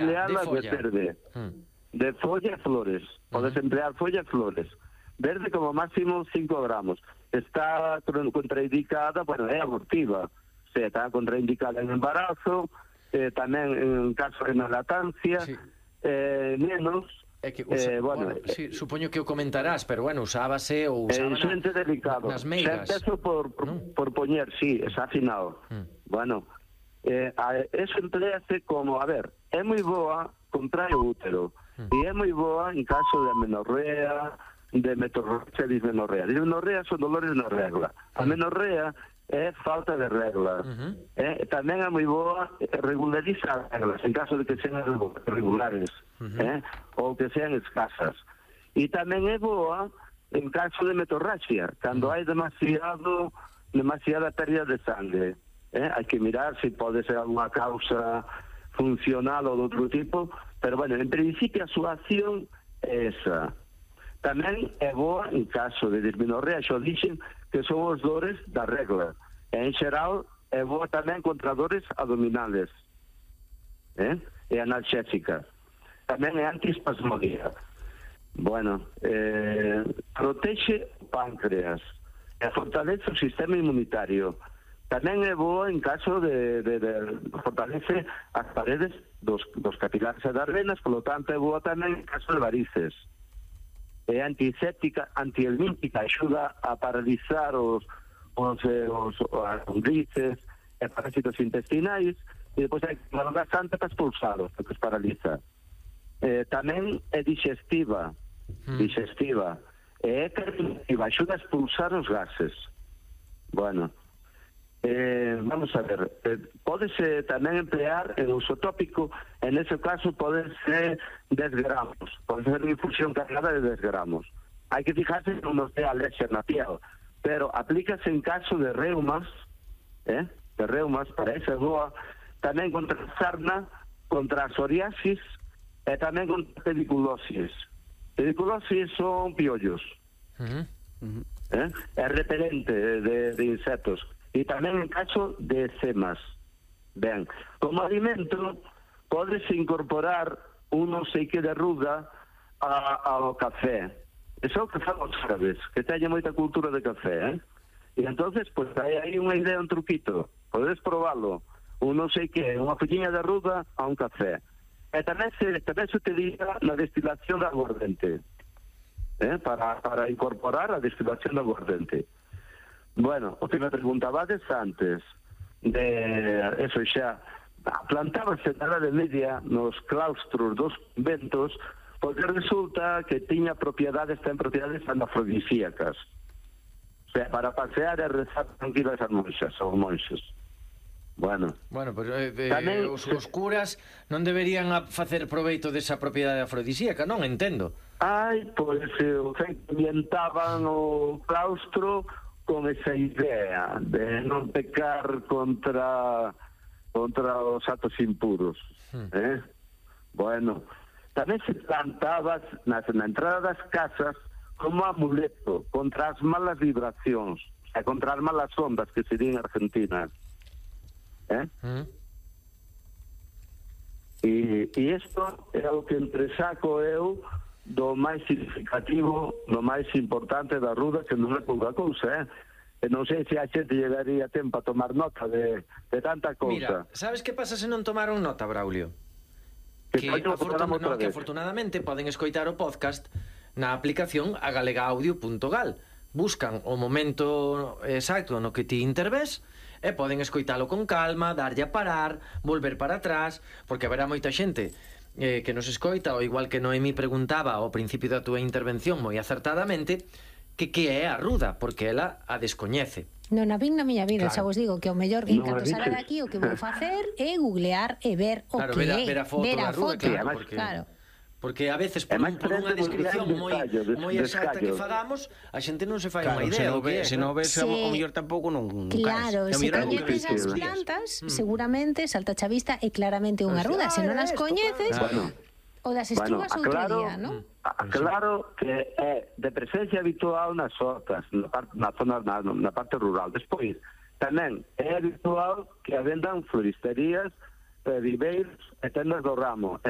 emplearlas de verde. De folla e flores. Podes emplear folla e flores. Verde como máximo 5 gramos. Está contraindicada, bueno, é abortiva. O sea, está contraindicada en embarazo, tamén en caso de lactancia, menos... É que, bueno, sí, supoño que o comentarás, pero bueno, usábase ou usaba nas meigas. Empezó por poñer, sí, está afinado. Bueno, eso emplease como, a ver, é moi boa contra o útero, e é moi boa en caso de amenorrea, de dismenorrea. Dismenorrea son dolores na regla. A menorrea é falta de regla. Tamén é moi boa regularizar as reglas, en caso de que sean regulares, ou que sean escasas. E tamén é boa en caso de metorraxia, cando hai demasiada pérdida de sangue. Hai que mirar se pode ser alguna causa funcional ou de outro tipo, pero, bueno, en principio a súa acción é esa. Tamén é boa en caso de dismenorrea, xo dixen que son os dores da regla. En xeral, é boa tamén contra dores abdominales. É analxésica. Tamén é antiespasmodía. Bueno, protexe o páncreas, fortalece o sistema inmunitario. Tamén é boa en caso de fortalece as paredes dos capilares e das venas, polo tanto é boa tamén en caso de varices. É antiséptica, antihelmíntica, axuda a paralizar as lombrices e parásitos intestinais, e depois hai que tomar bastante para expulsalos, porque os paraliza. Tamén é digestiva, é carminativa, axuda a expulsar os gases. Bueno, vamos a ver, pódese tamén emplear en uso tópico, en ese caso pode ser 10 gramos, pode ser unha infusión cargada de 10 gramos. Hai que fijarse que non nos dé alergia na piel, pero aplícase en caso de reumas, para esa boa, tamén contra a sarna, contra a psoriasis e tamén contra a pediculosis. Pediculosis son piollos, é repelente de insectos. E tamén en caso de eczemas. Ben, como alimento pódese incorporar un non sei que de ruda ao café. Eso é o que fan os árabes, que teñen moita cultura de café, E entonces, pues hai aí unha idea, un truquito. Podes probalo. Un non sei que, unha folliña de ruda a un café. E tamén se utiliza na destilación de aguardente. Para incorporar a destilación de aguardente. Bueno, o que me preguntabades antes de eso xa, plantábase na Edade Media nos claustros dos conventos porque resulta que ten propiedades afrodisíacas. O sea, para pasear e rezar tranquilas as monxas ou monxes. Bueno, pero os curas non deberían facer proveito desa propiedade afrodisíaca, non entendo. Pois ambientaban o claustro con esa idea de non pecar contra os actos impuros. Bueno, tamén se plantaba na entrada das casas como amuleto contra as malas vibracións, contra as malas ondas que se din en Argentina. E isto é o que entresaco eu do máis significativo, do máis importante da ruda, que non é pouca cousa, e non sei se a xente llegaría tempo a tomar nota de tanta cousa. Mira, sabes que pasa se non tomaron nota, Braulio? Que afortunadamente poden escoitar o podcast na aplicación agalegaudio.gal. Buscan o momento exacto no que ti intervés e poden escoitalo con calma, darlle a parar, volver para atrás, porque haberá moita xente que nos escoita, ou igual que Noemí preguntaba ao principio da túa intervención moi acertadamente, que é a ruda, porque ela a descoñece. Non a vin na miña vida, xa vos digo que o mellor que encanto salir daqui o que vou facer é googlear e ver o que é. Ver a foto da ruda, claro. Porque a veces por unha descripción moi exacta que fagamos, a xente non se fai unha idea. Se non ves o mellor tampouco non caes. Claro, se coñeces as plantas, seguramente salta a vista é claramente unha ruda. Se non as coñeces, o das estrugas outro día, non? Claro que é de presencia habitual nas hortas, na parte rural. Despois, tamén é habitual que vendan floristerías, viveiros tendas do ramo.